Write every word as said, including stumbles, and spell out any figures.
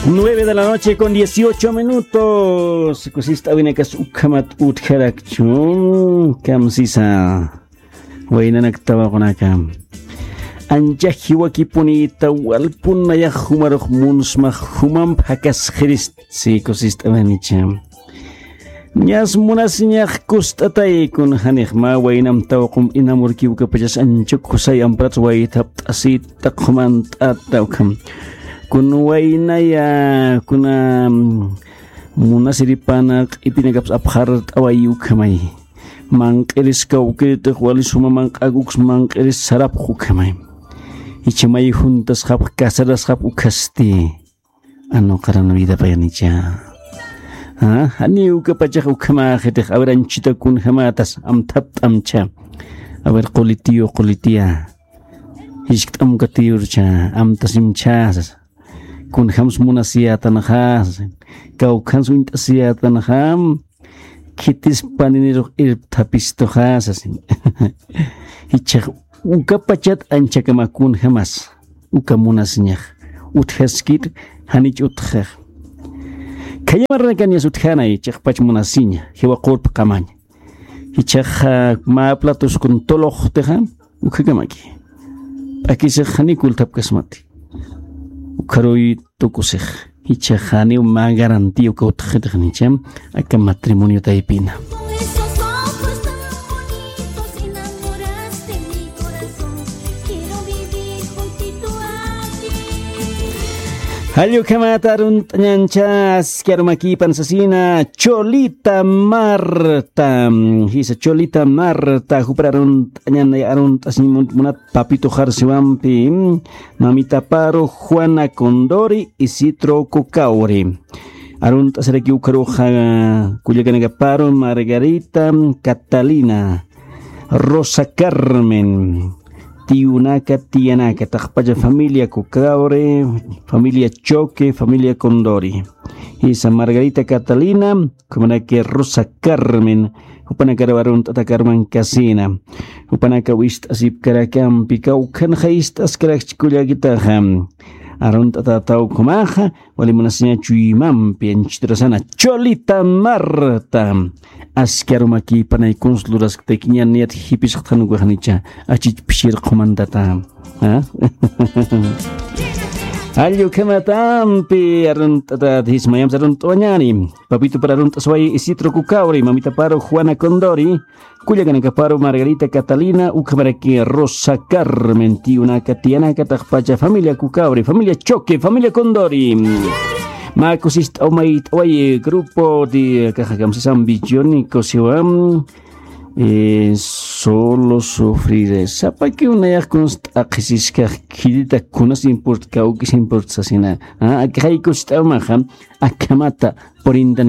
Nueve de la noche con dieciocho minutos. Kusist'awinakas ukhamat utjarakchu. Kamsisa. Waynanak tawaqunaka. Ancha jiwakipunïta walpun nayax jumarux munsmax jumamp jakasxirist. Sí, kusist'awinicha. Ñas munasiñax kust'atay kun janix mä waynam tawqum inamurki ukapachas ancha kusay amparats waythapt'asïta qhumant'ata ukham. Kun waynaya kuna, mm, munasiripana q'ipinakaps apxart'away ukhamay. Manq'iris kawkirtix wali suma manq'ak uks manq'iris sarapx ukhamay. Ichamay juntasxapx casarasxapx ukhasti. Anuqaran vida payanicha. Ah, jani ukapachax ukhamaxitix, a ver, anchita kunjamatas, amthapt'amcha. A ver, qulitiyu, qulitiya. Jiskt'amkatiyurcha, amtasimcha. Kunjams munasiyätanxa, sasin. Kawkhans uñt'asiyätanxa, khitis paninirux irpthapistuxa, sasin. Jichhax ukapachat anchakama kunjamas. Uka munasiñax. Utjaskit, janich utjax. Khayamaranakanias utjanay, chiqpach munasiña, jiwa qurpqamaña. Jichhax, ah, mä platos kun toloxtixa, ukhakamaki. P'akisix janiw kulthapkasmati. Ukharuy tukusix. Jichhax janiw mä garantía uka utjxitix nicha, aka matrimonio taypina. Jall ukhamat arunt'añancha aski arumakïpan sasina, Cholita Marta. Jisa Cholita Marta, jupar arunt'añan, arunt'asiñ mun-, munat Papito Jarsiwampi, Mamita Paro, Juana Condori, Isidro Cucauri. Arunt'asiraki ukharuxa, kullakanaka Paro, Margarita, Catalina, Rosa Carmen, tiyunaka, tiyanaka, taqpacha familia Cucauri, familia Choque, familia Condori. Jisa Margarita, Catalina, ukhamaraki Rosa Carmen, jupanakaru arunt'ata Carmen Casina. Jupanaka wist'asipkarakampi, kawkhanxa ist'askarakchi kullakitaxa. Arunt'ata tawkhumaxa, wali munasiña chuymampi, anchitrasana, Cholita Marta. Aski arumakïpanay kuns lurasktakiñan niyat jipisxtxanukaxnicha, achich pishir qhumantata. ¿Ah? Jall ukhamatampi arunt'ata jismayamsa arunt'awañani. Papito para arunt'asway Isidro Cucauri, Mamita Paro Juana Condori, kullakanaka Paro Margarita Catalina, ukhamaraki Rosa Carmen, tiyunaka, tiyanaka, taqpacha familia Cucauri, familia Choque, familia Condori. Mä kusist'aw mayt'away grupo de, akaxa kamsisam Bichoni, kusiwam, eh, solo sufrir. Sapakiw nayax kuns t'aqhisiskax khitita kunas import, kawkis import sasina. Ah, akixay kusist'awmaxa, akhamata, purintan